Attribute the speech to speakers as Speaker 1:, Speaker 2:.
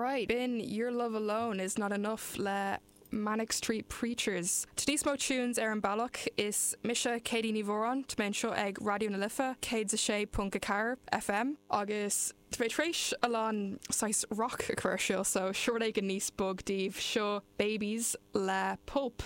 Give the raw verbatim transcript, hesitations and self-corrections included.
Speaker 1: Alright, b'in Your Love Alone is Not Enough le Manic Street Preachers. Tá níos mó tunes ar an bealach is mise Katie Ní Mhóráin tá mé anseo ag Raidió na Life céad a sé ponc a ceathair FM agus Tá mé tar éis a lán saghas rock a chur seo so seo rud éigin níos bog daoibh seo Babies le Pulp.